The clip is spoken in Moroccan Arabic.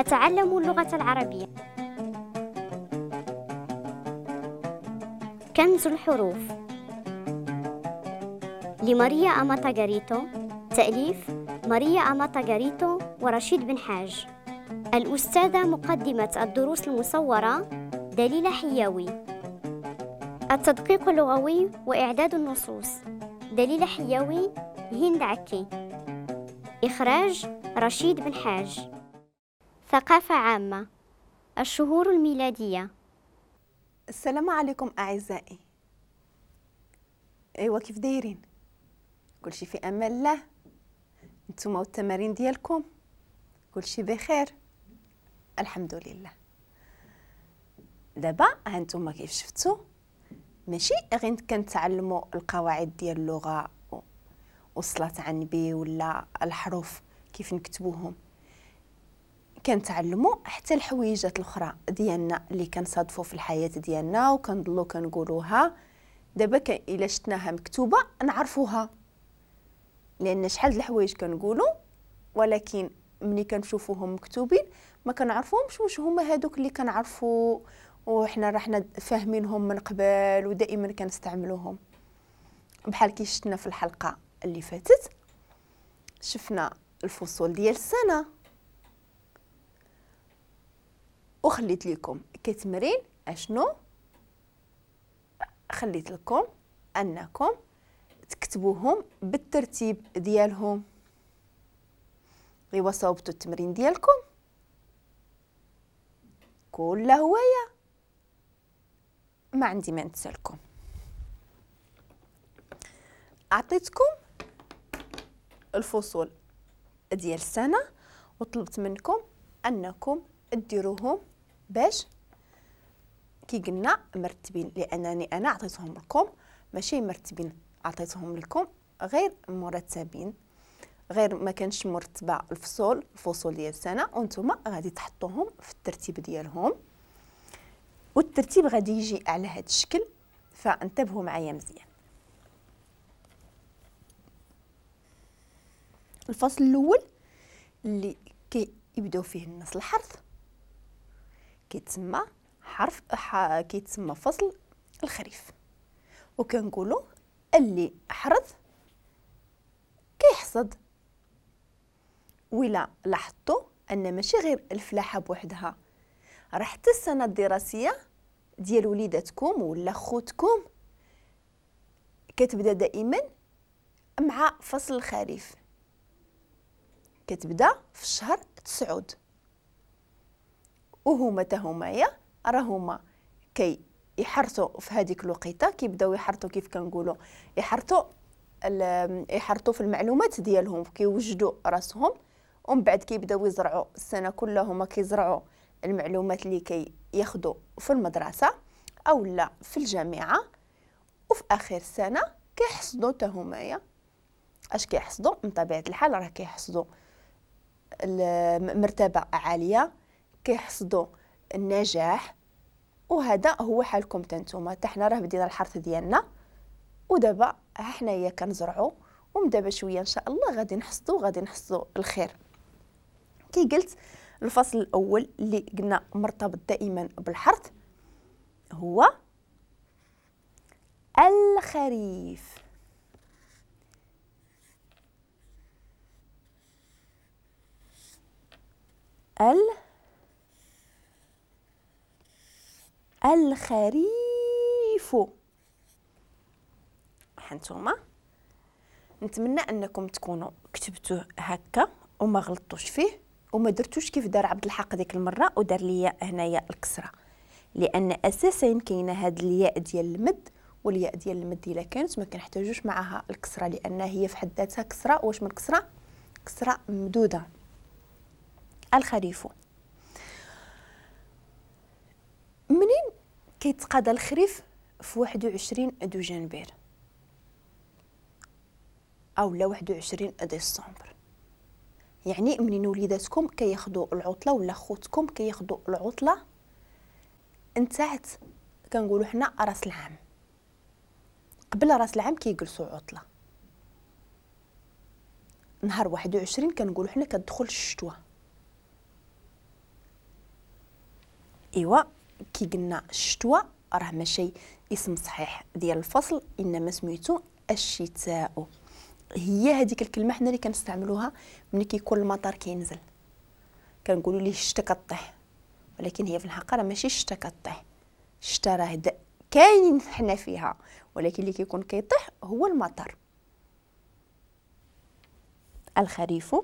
أتعلم اللغة العربية. كنز الحروف لماريا أماتا غاريتو، تأليف ماريا أماتا غاريتو ورشيد بن حاج. الأستاذة مقدمة الدروس المصورة دليلة حياوي. التدقيق اللغوي وإعداد النصوص دليلة حياوي، هند عكي. إخراج رشيد بن حاج. ثقافة عامة، الشهور الميلادية. السلام عليكم أعزائي. أيوا كيف دايرين؟ كلشي في أمان الله. نتوما والتمارين ديالكم كلشي بخير الحمد لله. دابا هانتوما كيف شفتوا ماشي غير كنتعلموا القواعد ديال اللغة والصلاة على النبي ولا الحروف كيف نكتبوهم، كنتعلموا حتى الحويجات الاخرى ديالنا اللي كنصادفوا في الحياة ديالنا وكنضلوا كنقولوها. دابا الا شفناها مكتوبة نعرفوها، لان شحال د الحوايج كنقولوا ولكن ملي كنشوفوهم مكتوبين ما كنعرفوهمش واش هما هادوك اللي كنعرفوا وحنا رحنا فاهمينهم من قبل ودائما كنستعملوهم. بحال كي شفنا في الحلقة اللي فاتت شفنا الفصول ديال السنة وخليت لكم كتمرين. اشنو خليت لكم؟ انكم تكتبوهم بالترتيب ديالهم. ايوا صوبتوا التمرين ديالكم كل هواية، ما عندي ما نتسالكم. اعطيتكم الفصول ديال السنة وطلبت منكم انكم ديروهم باش كي قلنا مرتبين، لانني انا عطيتهم لكم ماشي مرتبين، عطيتهم لكم غير مرتبين، غير ما كانش مرتبه الفصول ديال السنة، وانتم غادي تحطوهم في الترتيب ديالهم، والترتيب غادي يجي على هذا الشكل، فانتبهوا معايا مزيان. الفصل الاول اللي كيبداو فيه الناس الحرث كيتسمى حرف كيتسمى فصل الخريف، وكنقولوا اللي حرث كيحصد. ولا لاحظتوا ان ماشي غير الفلاحة بوحدها، راه حتى السنة الدراسية ديال وليداتكم ولا خوتكم كتبدا دائما مع فصل الخريف، كتبدا في الشهر 9، وهما تا همايا راهما كي يحرثوا في هذيك الوقيته، كيبداو يحرثوا كيف كنقولوا يحرثوا في المعلومات ديالهم، كيوجدوا راسهم، ومن بعد كيبداو يزرعوا السنة كلها هما كيزرعوا المعلومات اللي كياخذوا في المدرسة او لا في الجامعة، وفي اخر السنة كيحصدوا تا همايا. اش كيحصدوا؟ من طبيعة الحال راه كيحصدوا مرتبه عالية، كيحصدوا النجاح، وهذا هو حالكم تنتوما. حتى حنا راه بدينا الحرث ديالنا ودابا ها حنايا كنزرعوا، ومن دابا شوية ان شاء الله غادي نحصدوا الخير. كي قلت الفصل الاول اللي قلنا مرتبط دائما بالحرث هو الخريف. الخريف. هانتوما نتمنى انكم تكونوا كتبتوه هكا وما غلطتوش فيه وما درتوش كيف دار عبد الحق ديك المرة ودار ليا هنايا الكسرة، لان اساسا كاينه هاد الياء ديال المد، والياء ديال المد الا كانت ما كنحتاجوش معها الكسرة لان هي في حد ذاتها كسره. واش من كسره؟ كسره ممدوده. الخريف منين كيتقاضى الخريف؟ في 21 دجنبر او لا 21 ديسمبر، يعني منين وليداتكم كياخذوا العطلة ولا خوتكم كياخذوا العطلة انتهت، كنقولوا حنا راس العام، قبل راس العام كيجلسوا عطله. نهار 21 كنقولوا حنا كتدخل الشتوى، ايوا كي قلنا الشتوى راه ماشي اسم صحيح ديال الفصل، انما سميتو الشتاء. هي هذيك الكلمة حنا اللي كنستعملوها ملي كيكون المطر كينزل، كنقولوا ليه الشتا كطيح، ولكن هي في الحقيقة راه ماشي الشتا كطيح، الشتا راه كاين حنا فيها، ولكن اللي كيكون كيطيح هو المطر. الخريف،